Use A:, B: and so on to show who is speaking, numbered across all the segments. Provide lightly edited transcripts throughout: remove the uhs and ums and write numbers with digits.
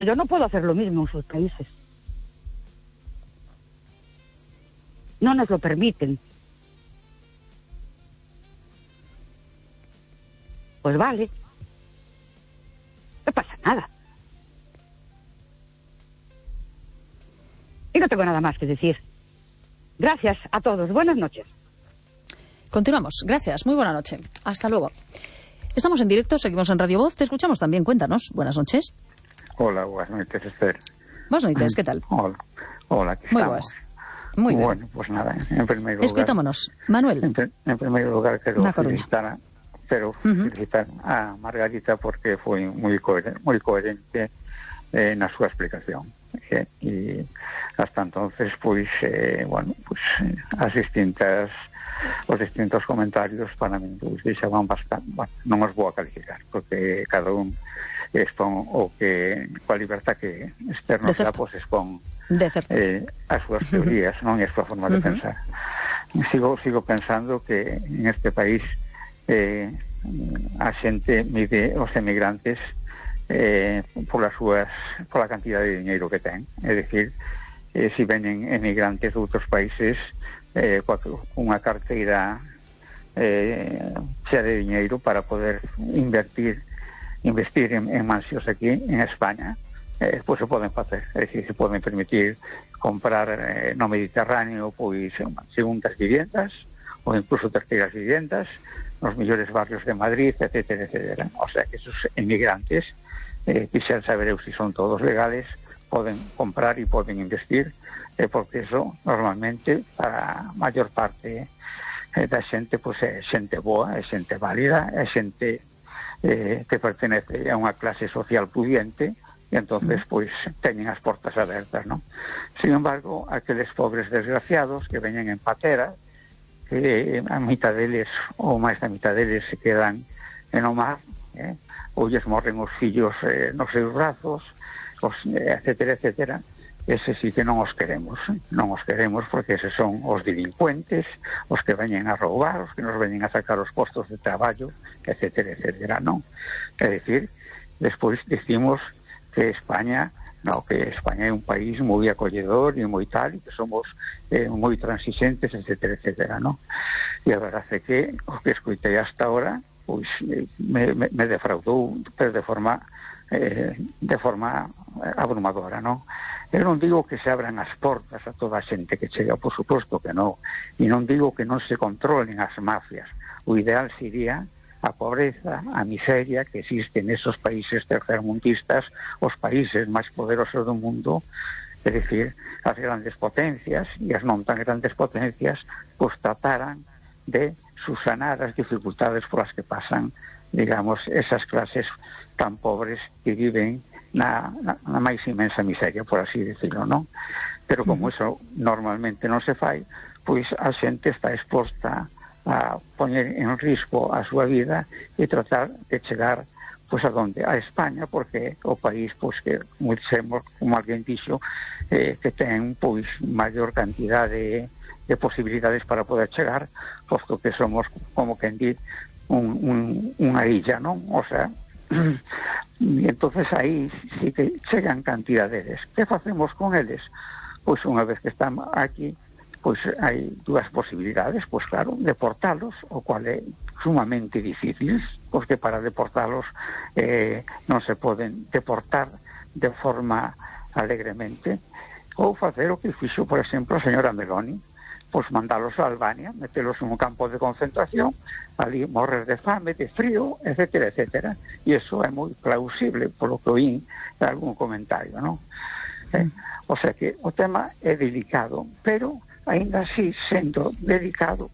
A: Yo no puedo hacer lo mismo en sus países. No nos lo permiten. Pues vale. No pasa nada. Y no tengo nada más que decir. Gracias a todos. Buenas noches.
B: Continuamos. Gracias. Muy buena noche. Hasta luego. Estamos en directo, seguimos en Radio Voz. Te escuchamos también. Cuéntanos. Buenas noches.
C: Hola, buenas noches, Esther.
B: Buenas noches, ¿qué tal?
C: Hola, aquí
B: Muy
C: estamos.
B: buenas. Muy bien.
C: Bueno, pues nada, en primer lugar...
B: Escutámonos. Manuel.
C: En primer lugar, quero
B: Na Coruña.
C: felicitar a Margarita porque foi moi coherente na súa explicación. E hasta entonces, os distintos comentarios para min deixaban bastante, non os vou a calificar, porque cada un expón o que coa libertad que externo xa expón as súas teorías, non é a súa forma de pensar. Sigo pensando que en este país a xente mide os emigrantes pola cantidad de dinheiro que ten, é dicir, se venen emigrantes de outros países unha carteira xa de dinheiro para poder investir en mansións aquí en España, pois se poden facer, é dicir, se poden permitir comprar no Mediterráneo pois segundas viviendas ou incluso terceiras viviendas nos mellores barrios de Madrid, etcétera, etcétera. O sea que esos emigrantes quixeran saber se son todos legales, poden comprar e poden investir, porque eso normalmente para a maior parte da xente pois é xente boa, é xente válida, é xente que pertenece a unha clase social pudiente e entonces pois teñen as portas abertas, non? Sin embargo, aqueles pobres desgraciados que veñen en patera, que a mitad deles ou máis da mitad deles se quedan en o mar, ou lles morren os fillos nos seus brazos, etcétera, etcétera. Ese sí que non os queremos, porque eses son os delincuentes, os que veñen a roubar, os que nos veñen a sacar os postos de traballo, etcétera, etcétera, non? É dicir, despois dicimos que España é un país moi acolledor e moi tal, e que somos moi transixentes, etcétera, etcétera, non? E a verdade é que o que escoitei hasta ahora pois me defraudou de forma abrumadora, non? Eu non digo que se abran as portas a toda a xente que chega, por suposto que non, e non digo que non se controlen as mafias. O ideal sería a pobreza, a miseria que existe nesos países tercermundistas, os países máis poderosos do mundo, é dicir, as grandes potencias e as non tan grandes potencias, pois trataran de subsanar as dificultades polas que pasan, digamos, esas clases tan pobres que viven na máis inmensa miseria, por así decirlo, non? Pero como eso normalmente non se fai, pois a xente está exposta a poñer en risco a súa vida e tratar de chegar pois a donde? A España, porque o país pois que muchemos, como alguén dixo, que ten pois maior cantidade de posibilidades para poder chegar, posto que somos, como quen di, unha illa, non? O sea, e entonces aí sí que chegan cantidades. Que facemos con eles? Pois unha vez que están aquí, pois hai dúas posibilidades, pois claro, deportalos, o cual é sumamente difícil, porque para deportalos non se poden deportar de forma alegremente, ou facer o que fixo, por exemplo, a señora Meloni, pois mandalos a Albania, metelos en un campo de concentración, ali morrer de fame, de frío, etcétera, etcétera. E iso é moi plausible, polo que oín de algún comentario, non? O sea que o tema é delicado, pero ainda así, sendo delicado,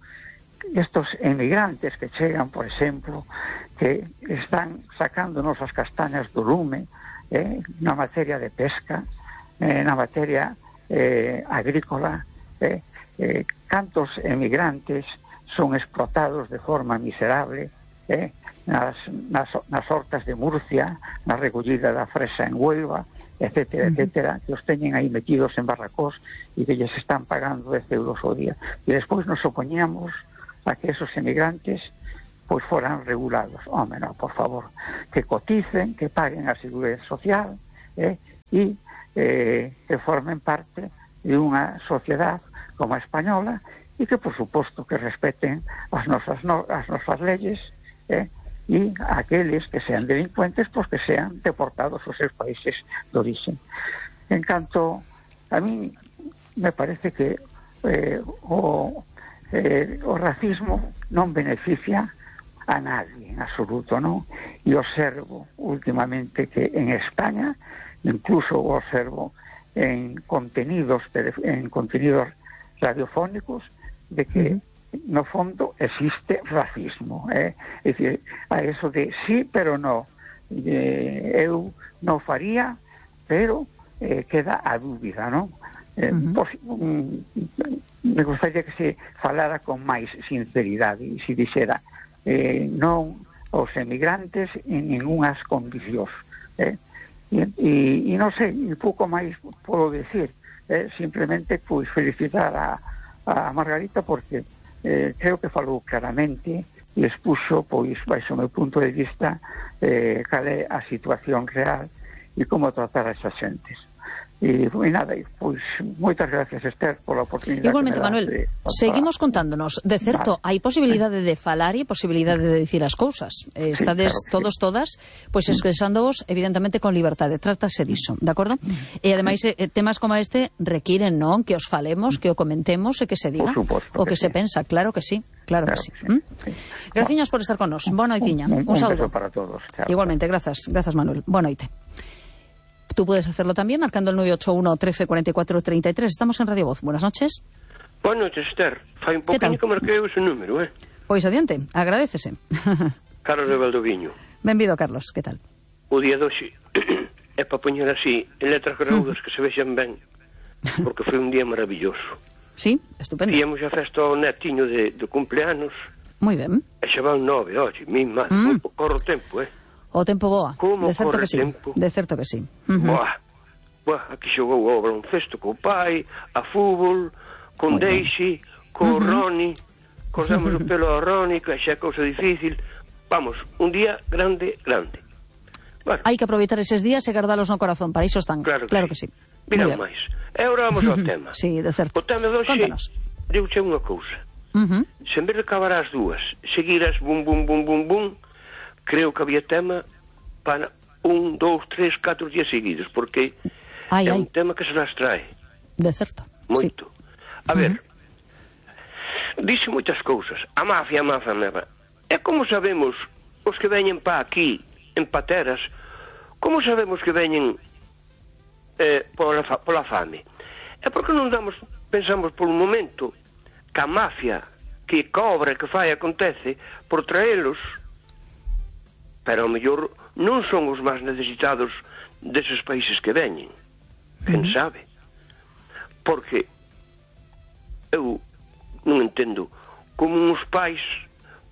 C: estos emigrantes que chegan, por exemplo, que están sacándonos as castañas do lume, na materia de pesca, na materia agrícola, cantos emigrantes son explotados de forma miserable nas hortas de Murcia, na recollida da fresa en Huelva, etcétera, etcétera, que os teñen aí metidos en barracós e que lles están pagando 10 euros ao día. E despois nos opoñamos a que esos emigrantes pois foran regulados. Home, non, por favor, que coticen, que paguen a seguridade social, e que formen parte de unha sociedade como a española e que, por suposto, que respeten as nosas leyes e aqueles que sean delincuentes, pues que sean deportados aos seus países de origen. En canto, a mí me parece que o racismo non beneficia a nadie en absoluto, non? E observo últimamente que en España, incluso observo en contenidos radiofónicos, de que no fondo existe racismo, é dicir, a eso de sí, pero no, eu non faría, pero queda a dúbida, non? Me gustaría que se falara con máis sinceridade e se dixera non aos emigrantes en ningunhas condicións, e non sei, un pouco máis podo decir, simplemente pois felicitar a Margarita porque creo que falou claramente e expuxo, pois, baixo o meu punto de vista, cal é a situación real e como tratar a esas xentes. E nada, pois, moitas gracias, Esther, pola oportunidade.
B: Igualmente, Manuel, seguimos contándonos. De certo, hai posibilidade de falar e posibilidade de dicir as cousas. Estades todos, todas, pois expresándoos, evidentemente, con liberdade. Trátase diso, de acordo? E, ademais, temas como este requiren, non? Que os falemos, que o comentemos e que se diga o que se pensa. Claro que sí. Claro que sí. Graciñas por estar con nos. Boa noitiña. Un saúdo
C: para todos. Chao.
B: Igualmente, grazas, Manuel. Boa noite. Tú puedes hacerlo también marcando el 981 13 44 33. Estamos en Radio Voz. Buenas noches.
D: Buenas noches, Esther. Fai un poquinho que marquei ese número,
B: Pois adiante, agradécese.
D: Carlos de Valdoviño.
B: Benvido, Carlos, que tal?
D: O día de hoxe é para poñer así en letras graúdas que se vexan ben, porque foi un día maravilloso.
B: Sí, estupendo.
D: Íamos a festa ao netiño de cumpleanos.
B: Moi ben.
D: E xa van 9, oxe, min máis, corre o tempo,
B: O tempo boa.
D: Como
B: de certo
D: corre
B: que sí.
D: tempo?
B: De certo que sí.
D: Buah, aquí xogou o baloncesto co pai, a fútbol, con Daisy, co Ronnie, cortamos o pelo ao Ronnie, que xa é cousa difícil. Vamos, un día grande, grande. Bueno,
B: hai que aproveitar eses días e guardalos no corazón, para iso están.
D: Claro
B: que sí.
D: Mira máis. E agora vamos ao tema.
B: Sí, de certo.
D: O tema de hoxe, digo-che unha cousa. Se en vez de acabar as dúas, seguiras bum, bum, bum, bum, bum, creo que había tema para 1, 2, 3, 4 días seguidos, porque é un tema que se las trae.
B: De certo.
D: Moito. Sí. A ver, dice moitas cousas. A mafia. E como sabemos os que veñen pa aquí, en pateras, como sabemos que veñen pola fame? É porque non pensamos por un momento que a mafia que cobra, que fai, acontece por traelos, pero ao mellor non son os máis necesitados deses países que veñen. Quen sabe? Porque eu non entendo como uns pais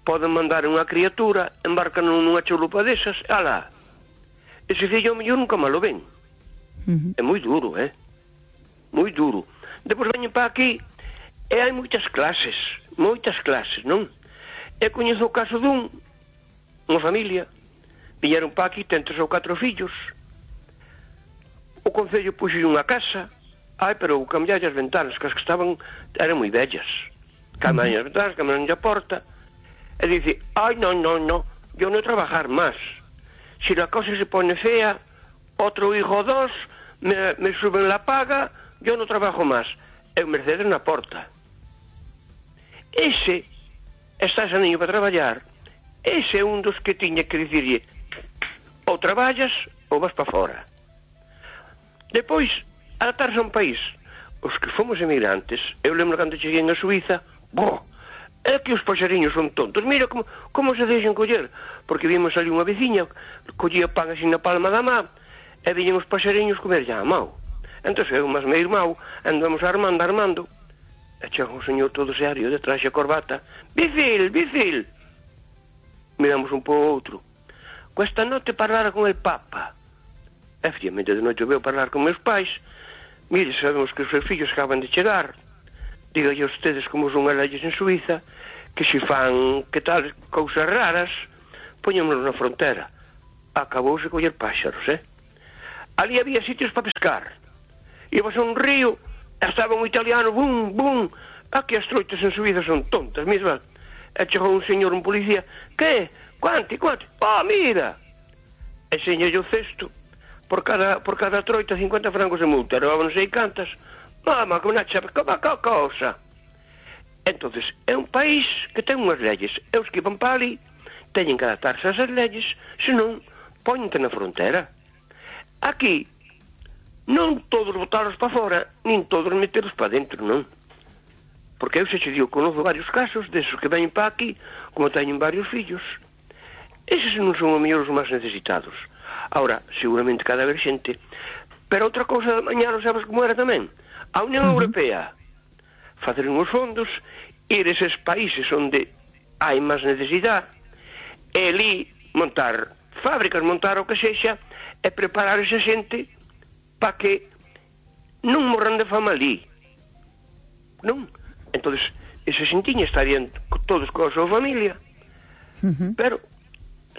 D: poden mandar unha criatura, embarcan nunha chalupa desas, alá, ese fillo ao mellor nunca malo ven. É moi duro, moi duro. Depois veñen para aquí e hai moitas clases, non? E coñezo o caso unha familia, viñeron para aquí, ten 3 ou 4 fillos, o concello puxo unha casa, pero cambialle as ventanas, que as que estaban eran moi bellas, cambialle as ventanas, cambialle a porta, e dice, non, yo no trabajar más, si la cosa se pone fea, otro hijo o 2 me suben la paga, yo no trabajo más. E o Mercedes na porta. Ese está ese niño para traballar, ese é un dos que tiña que dicirlle, ou traballas ou vas para fora. Depois, adaptarse a un país. Os que fomos emigrantes, eu lembro cando cheguei a Suiza, é que os paxariños son tontos. Mira como se deixan coller, porque vimos ali unha veciña, collía pan así na palma da má, e viñen os paxariños comer ya a mau. Entón eu máis meu irmão andamos armando, e chega un señor todo serio, de traxe a corbata, bicil, miramos un po outro, questa noite parlara con el Papa. Efectivamente, de noite veo parlar con meus pais, mire, sabemos que os seus fillos acaban de chegar, dígalle a ustedes como son as leyes en Suiza, que se fan, que tal, cousas raras, poñémonos na frontera. Acabouse coller páxaros, ali había sitios para pescar. Ibas a un río, estaba un italiano, bum, bum, aquí as troitas en subida son tontas, misma. E chegou un señor, un policía, que? Quanti? Oh, mira! E señalle o cesto, por cada troita 50 francos de multa, era non sei cantas. Mama, como na chapa, como a cosa. Entonces, é un país que ten unhas leyes, e os que van para ali teñen que adaptarse a esas leyes, senón poñente na frontera. Aquí, non todos botaros para fora, nin todos meteros para dentro, non? Porque eu se che digo, conozco varios casos desos que ven para aquí, como teñen varios fillos. Eses non son os mellores os máis necesitados. Ahora, seguramente cada vez xente. Pero outra cousa da mañá, non sabes como era tamén? A Unión Europea facer uns fondos, ir a eses países onde hai máis necesidade, e ali montar fábricas, montar o que sexa, e preparar esa xente para que non morran de fama ali. Non? Entonces, esa xentiña estarían todos coa súa familia, pero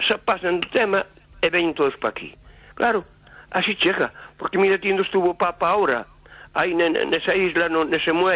D: se pasan do tema e ven todos para aquí. Claro, así chega, porque mira, tiendo estuvo o Papa ahora, aí nesa isla, nese muelle,